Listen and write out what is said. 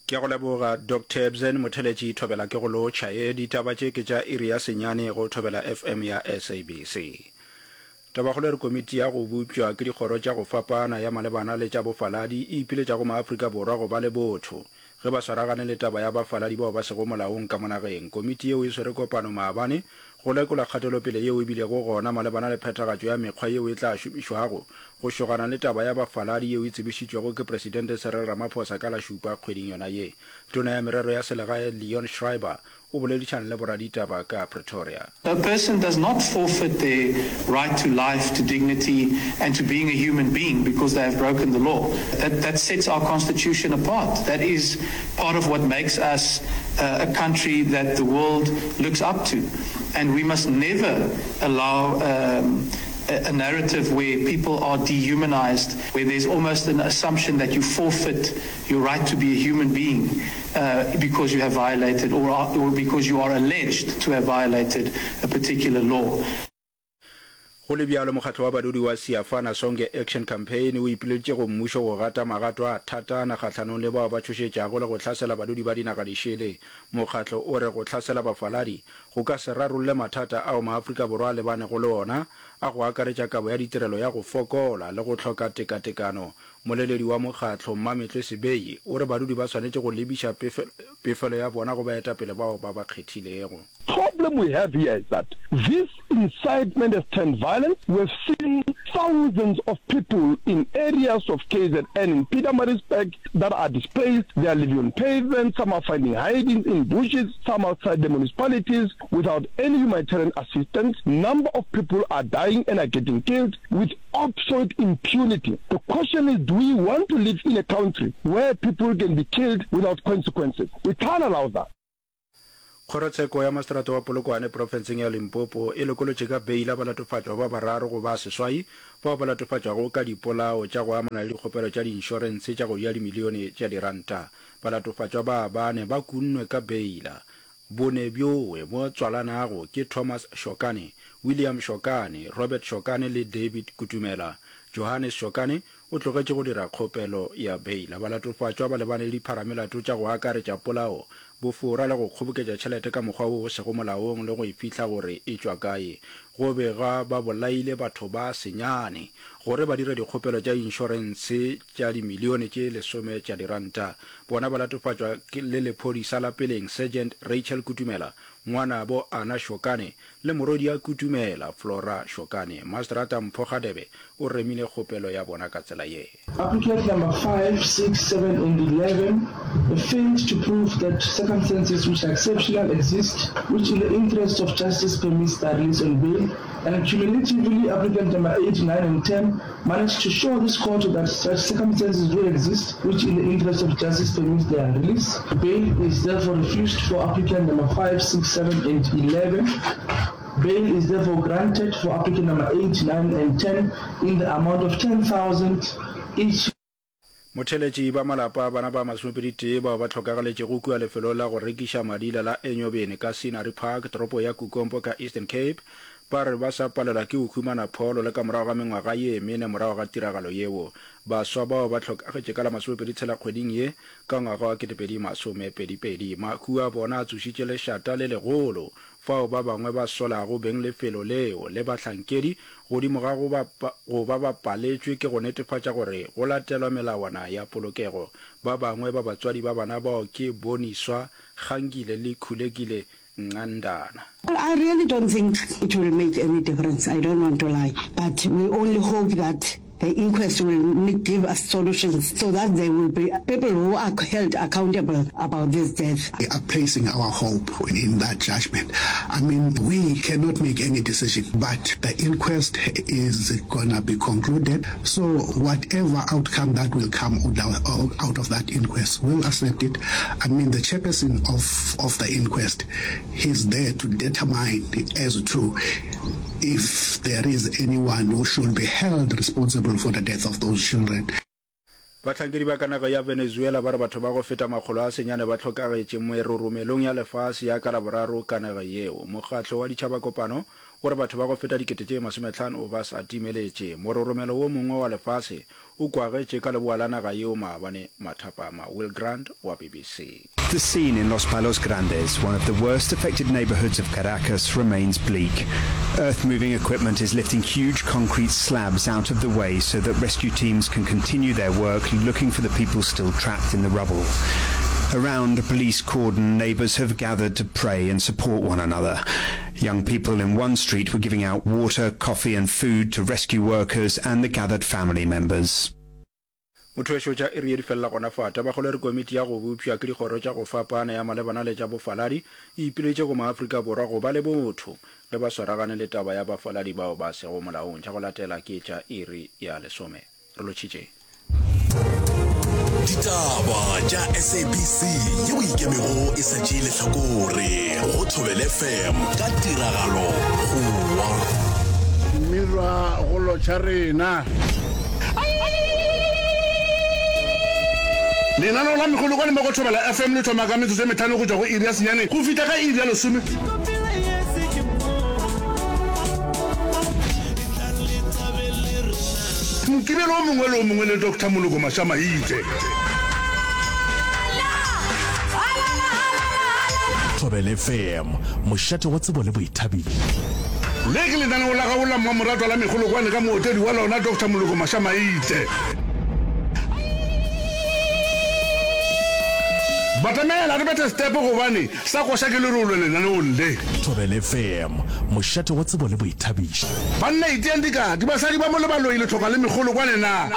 Ke a go leboga Doctor Ebsen Motheletši Thobela ke go lotšha ye ditaba tše ke tša iri ya senyane go Thobela FM ya SABC. Tabakgolo e re komiti ya go bopša ke dikgoro tša go fapana ya malebana le tša bofaladi e ipiletša go maAfrika Borwa go ba le botho ge ba swaragane le taba ya bafaladi bao ba sego molaong ka mo nageng. Komiti yeo e swere kopano maabane go lekola kgatelopele yeo e bilego gona malebana le phethagatšo ya mekgwa yeo e tla šomišwago go šogana le taba ya bafaladi yeo e tsebišitšwego ke Presidente Cyril Ramaphosa ka la šupa kgweding yona ye. Tona ya Merero ya Selegae Leon Schreiber o boledišane le boraditaba ka Pretoria. A person does not forfeit their right to life, to dignity and to being a human being because they have broken the law. That, that sets our constitution apart. That is part of what makes us uh, a country that the world looks up to. And we must never allow um, a, a narrative where people are dehumanized, where there's almost an assumption that you forfeit your right to be a human being uh, because you have violated or, are, or because you are alleged to have violated a particular law. Go le bjalo, mokgatlo wa badudi wa Siyafana Sonke Action Campaign o ipileditše go mmušo go gata magato a thatana kgahlanong le bao ba tšhošetšago le go hlasela badudi ba dinaga dišele. Mokgatlo o re go hlasela bafaladi go ka se rarolle mathata ao maAfrika Borwa a lebanego le ona a go akaretša kabo ya ditirelo ya go fokola le go hloka tekatekano. Moleledi wa mokgatlo, Mmametlwe Sebei, o re badudi ba swanetše go lebiša pefelo ya bona go baetapele bao ba ba kgethilego. Problem we have here is that this incitement has turned violent, we have seen thousands of people in areas of KZN in Pietermaritzburg that are displaced, they are living on pavements, some are finding hidings in bushes, some outside the municipalities without any humanitarian assistance, number of people are dying and are getting killed with absolute impunity. The question is do we want to live in a country where people can be killed without consequences? We can't allow that. Kgorotsheko ya Maseterata wa Polokwane profenseng ya Limpopo e lokolotše ka beila balatofatšwa ba bararo go ba seswai bao ba latofatšwago ka dipolao tša go amana le dikgopelo tša diinšorense tša go ja dimilione tša diranta. Balatofatšwa ba bane ba kunnwe ka beila. Bone bjoe bo tswalanago ke Thomas Shokane, William Shokane, Robert Shokane le David Kutumela. Johannes Shokane o tlogetše go dira kgopelo ya beila. Balatofatšwa ba lebane le dipharamelato tša go akaretša polao, bofora le go kgoboketša tšhelete ka mokgwa wo o sego molaong le go e fihla gore e tšwa kae. Go begwa ba bolaile batho ba senyane gore ba dire dikgopelo tša inšorense tša dimilione tše lesome tša diranta. Bona ba latofatšwa le lephodisa la peleng Sergeant Rachel Kutumela, ngwanabo Anna Shokane le morwedi'a Kutumela, Flora Shokane. Maseterata Mpho Gadebe o remile kgopelo ya bona ka tsela ye. Applicant number 5, 6, 7 and 11 have failed to prove that circumstances which are exceptional exist which in the interest of justice permits their release on bail and cumulatively applicant number 8, 9 and 10 managed to show this court that such circumstances do exist which in the interest of justice permits their release. Bail is therefore refused for applicant number 5, 6, 7 and 11. Bail is therefore granted for applicant number 8, 9 and 10 in the amount of 10,000 each. Motheeletši ba malapa a bana ba masomepeditee bao ba hlokagaletšego kua lefelong la go rekiša madila la Enyobeni ka Scenery Park, toropo ya Kukompo ka Eastern Cape, ba re ba sa palelwa ke go humana pholo le ka morago ga mengwaga ye mene morago ga tiragalo yeo. Baswa bao ba hlokagetše ka la masomepeditshela kgweding ye ka ngwaga wa 2022. Mahu a bona a tsošitše lešata le legolo fao ba bangwe ba solago beng lefelo leo le bahlankedi godimo ga go ba go ba ba paletšwe ke go netefatša gore go latelwa melawana ya polokego. Ba bangwe ba batswadi ba bana bao ke Boniswa Gangile le Khulekile Nqandana. I really don't think it will make any difference, I don't want to lie, but we only hope that the inquest will give us solutions so that there will be people who are held accountable about this death. We are placing our hope in that judgment. I mean, we cannot make any decision, but the inquest is gonna be concluded. So whatever outcome that will come out of that inquest, we'll accept it. I mean, the chairperson of, of the inquest, he's there to determine as to if there is anyone who should be held responsible for the death of those children. Bahlankedi ba ka naga ya Venezuela ba re batho ba go feta makgolo a senyane ba hlokagetše meroromelong ya lefase ya ka Laboraro ka naga yeo. Mokgatlo wa Ditšhabakopano O re batho ba go feta 50,000 ba sa timeletše. Mororomelo wo mongwe wa lefase o kwagetše ka leboa la naga yeo maabane mathapama. Will Grant wa BBC. The scene in Los Palos Grandes, one of the worst affected neighborhoods of Caracas, remains bleak. Earth-moving equipment is lifting huge concrete slabs out of the way so that rescue teams can continue their work looking for the people still trapped in the rubble. Around a police cordon, neighbors have gathered to pray and support one another. Young people in one street were giving out water, coffee and food to rescue workers and the gathered family members. Motho tša iri ye di felela gona fa. Tabakgolo e re komiti ya go bopša ke dikgoro tša go fapana ya malebana le tša bofaladi e ipiletše go maAfrika Borwa go ba le botho ge ba swaragane le taba ya bafaladi bao ba sego molaong. Tša go latela ke tša iri ya lesome. Re lotšhitše. Ditaba tša SABC yeo ikemego e sa tšee lehlakore go Thobela FM ka tiragalo Goa. Mmirwa go lotšha rena. Lenaneo la Megolokwane mo go Thobela FM le thoma ka metsotso e metlhano go tšwa go iri ya senyane go fihla ka iri ya lesome. Mokibelo o mongwe le o mongwe le Doctor Moloko Mashamaite. Thobela FM, mošate wa tsebo le boithabišo. Le ke lenaneo la gago la mmamoratwa la Megolokwane ka mootledi wa lona Doctor Moloko Mashamaite. Batamela re bethe stepe gobane Sa koša ke lerole lenaneong le. Thobela FM, mošate wa tsebo le boithabišo. Banna iteang dikati, basadi ba mo le baloi le hloka le megolokwane na?